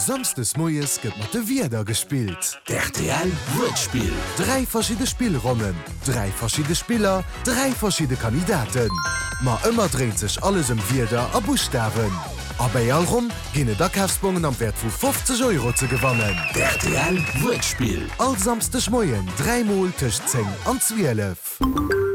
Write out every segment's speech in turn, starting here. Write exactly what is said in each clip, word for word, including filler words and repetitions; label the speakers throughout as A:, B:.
A: Samsdes moies gëtt mat de Wierder gespillt.
B: D'RTL Wuertspill.
A: Dräi verschidde Spillronnen, dräi verschidde Spiller, dräi verschidde Kandidaten. Ma ëmmer dréint sech alles ëm Wierder a Buschtawen. A bei all Ronn ginn et Akafsbongen am Wäert vu fofzeg Euro ze gewannen.
B: D'RTL Wuertspill.
A: All Samsdeg Moien dräi Mol tëscht zéng an zwielef.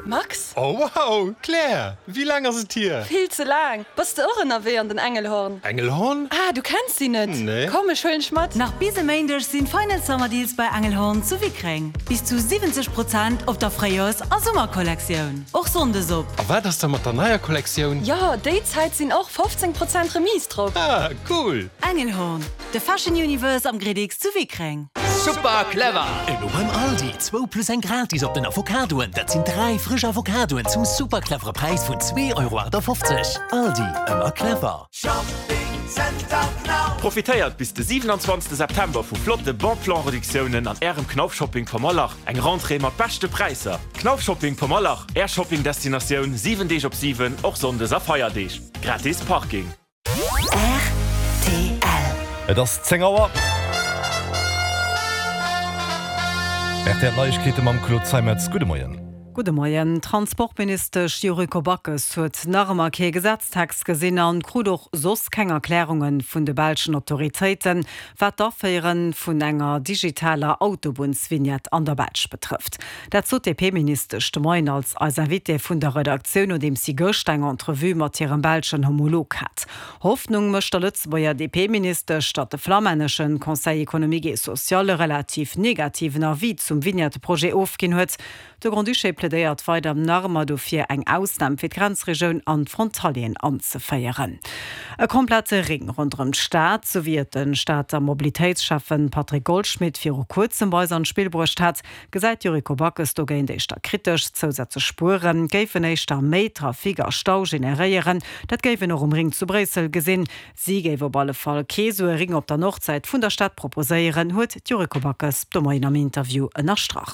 C: Max?
D: Oh wow, Claire, wéi laang ass et hier?
C: Vill ze laang! Bass de och ënnerwee an den Engelhorn?
D: Engelhorn?
C: Ah, du kenns si net?
D: Nee.
C: Komm, ech huelen dech mat!
E: Nach bis e Méindeg sinn Final Summer Deals bei Engelhorn zu Wickreng. Bis zu siwwenzeg Prozent op der Fréijoers a Summerkollektioun. Och Sonndes op.
D: A wat ass da mat der neier Kollektioun?
C: Jo, déi Zäit sinn och fofzéng Prozent Remise drop.
D: Ah, cool!
E: Engelhorn, de Fashion Universe am Gridix zu Wickreng.
F: Super clever!
B: Elo beim Aldi, zwou plus eng gratis op den Avocadoen. Dat sinn dräi frësch Avocadoen zum super clevere Präis vun zwee Euro achtafofzeg. Aldi, ëmmer clever.
G: Profitéiert bis de siwenanzwanzegste September vu flotte Bon Plan Reduktiounen an Ärem Knauf Shopping Pommerlach. Eng Rentrée mat beschte Präisser. Knauf Shopping Pommerlach, Är Shopping Destinatioun siwen Deeg op siwen, och Sonndes a Feierdeeg. Gratis Parking.
H: Rtl.
I: Et ass zéng Auer. R T L Neiegkeete mam Claude Zeimetz. Gudde Moien.
J: Gudde Moien. D'Transportministesch Yuriko Backes huet nach ëmmer kee Gesetztext gesinn an krut och soss keng Erklärunge vun de belschen Autoritéiten, wat d'Aféiere vun enger digitaler Autobunnsvignette an der Belsch betrëfft. Dat sot d'D P-Ministesch de Moien als eis Invitée vun der Redaktioun, nodeems si gëscht eng Entrevue mat hirem belschen Homolog hat. Hoffnung mécht der Lëtzebuerger D P-Ministesch, datt de flamännesche Conseil économique et social e relativ negativen Avis zum Vignette-Projet ofginn huet. De Grand-Duché plädéiert weider nach ëmmer dofir, eng Ausnam fir d'Grenzregioun an d'Frontalieren anzeféieren. E komplette Ring ronderëm d'Stad, sou wéi et de Stater Mobilitéitsschäffen Patrick Goldschmidt viru kuerzem bei eis an d'Spill bruecht hat, gesäit d'Yuriko Backes dogéint éischter kritesch. Zousätzlech Spuere géifen éischter méi Trafic a Stau generéieren. Dat géif een och um Ring zu Bréissel gesinn. Si géif op alle Fall kee sou e Ring op der Nordsäit vun der Stad proposéieren, huet d'Yuriko Backes de Moien am Interview ënnerstrach.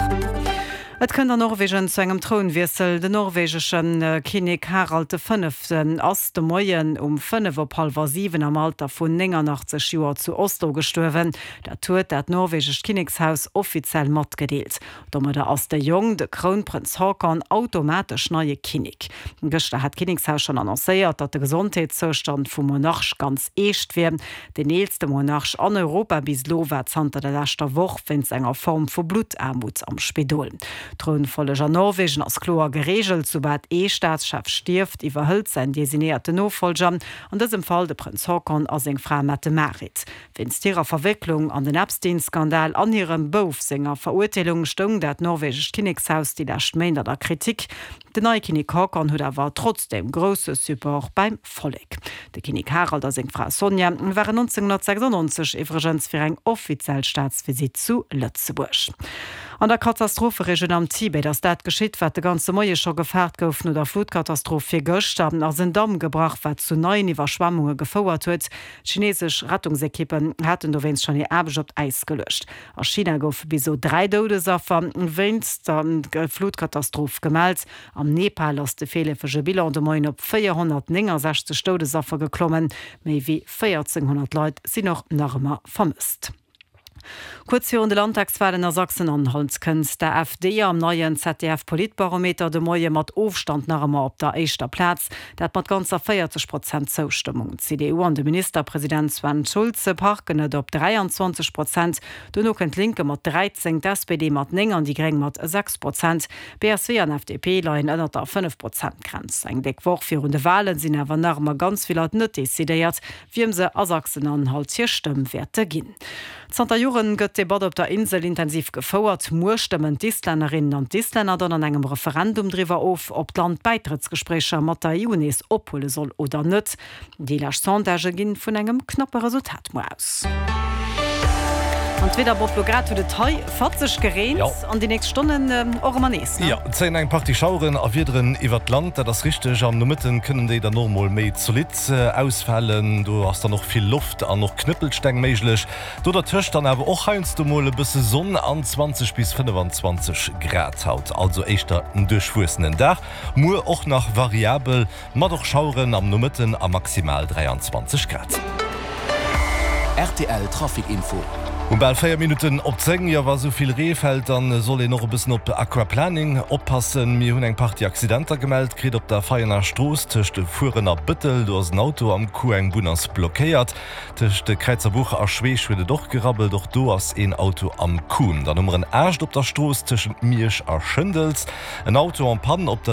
J: Et kënnt an Norwegen zu engem Trounwiessel. Den norwegesche Kinnek Harald de Fënneften ass de Moien um fënnef op hallwer siwen am Alter vun néngannachtzeg Joer zu Oslo gestuerwen. Dat huet dat norwegescht Kinnekshaus offiziell matgedeelt. Domadder ass de Jong, de Krounprënz Haakon, automatesch neie Kinnek. Gëschter hat d'Kinnekshaus schonn annoncéiert, datt de Gesondheetszoustand vum Monarch ganz eescht wier. Den eelste Monarch an Europa bis elo war zanter der leschter Woch wéinst enger Form vu Bluttaarmut am Spidol. D'Trounfolleg an Norwegen ass kloer gereegelt, Soubal ee Staatschef stierft, iwwerhëlt säin designéierten Nofollger, an dësem Fall de Prënz Haakon a seng Fra Mette-Marit. Wéinst hirer Verwécklung an den Epstein-Skandal an hirem Bouf senger Verurteelung stoung dat norwegescht Kinnekshaus déi lescht Méint an der Kritik. Den neie Kinnek Haakon huet awer trotzdeem grousse Support beim Vollek. De Kinnek Harald a seng Fra Sonja waren nonzénghonnertsechsannonzeg iwwregens fir eng offiziell Staatsvisitt zu Lëtzebuerg. An der Katastropheregioun am Tibet ass dat geschitt, wat de ganze Moie scho gefaart gouf. No der Flutkatastroph virgëschter ass en Damm gebrach, wat zu neien Iwwerschwemmunge gefouert huet. Chinesesch Rettungsekippen haten dowéinst schonn hir Aarbecht op d'Äis geluecht. A China goufe bis elo dräi Doudesaffer wéinst der Flutkatastroph gemellt. Am Nepal ass de virleefege Bilan de Moien op véierhonnertnéngensechzeg Doudesaffer geklommen. Méi wéi véierzénghonnert Leit sinn och nach ëmmer vermësst. Kuerz virun de Landtagswalen a Sachsen-Anhalt kënnt d'AfD am neien Z D F-Politbarometer de Moie mat Ofstand nach ëmmer op der éischter Plaz, dat mat ganzer véierzeg Prozent Zoustëmmung. D'C D U an de Ministerpresident Sven Schulze parken et op dräianzwanzeg Prozent, dono kënnt d'Linke mat dräizéng, d'S P D mat néng an déi Gréng mat sechs Prozent. B S W an F D P leien ënnert der fënnef-Prozent-Grenz. Eng déck Woch virun de Walen sinn awer nach ëmmer ganz vill Leit net decidéiert, wiem se a Sachsen-Anhalt hir Stëmm wäerte ginn. Zanter Joren gëtt d'Debatt op der Insel intensiv gefouert. Muer stëmmen d'Islännerinnen an d'Islänner dann an engem Referendum driwwer of, ob d'Land d'Bäitrëttsgespréicher mat der E U nees ophuele soll oder net. Déi lescht Sondagë ginn vun engem knappe Resultat muer aus. An d'Wieder, Bob, lo grad huet et hei fatzeg gereent
I: Jo.
J: an déi nächst Stonnen och ëmmer nees, ne?
I: Jo, et zéien eng Partie Schaueren a Wiederen iwwert d'Land, dat ass richteg. Am Nomëtten kënnen déi dann och mol méi zolidd ausfalen. Do ass dann och vill Loft an och Knëppelsteng méiglech. Do dertëscht dann awer och heiansdo mol e bësse Sonn an zwanzeg bis fënnefanzwanzeg Grad haut. Also éischter en duerchwuessenen Dag. Muer och nach variabel, mat och Schaueren am Nomëtten a maximal dräianzwanzeg Grad.
F: Rtl Trafic Info.
I: Um bal véier Minutten op zéng, jo wa sou vill Ree fält, dann soll een och e bëssen op Aquaplaning oppassen. Mir hunn eng Partie Accidenter gemellt kritt op der Veianer Strooss tëscht Fueren a Bëttel, do ass en Auto am Coup, eng Bunn ass blockéiert. Tëscht Kräizerbuch a Schweech huet et och gerabbelt, och do ass een Auto am Coup. Dann hu mer en Aascht op der Strooss tëschent Miersch a Schëndels, en Auto en panne op der.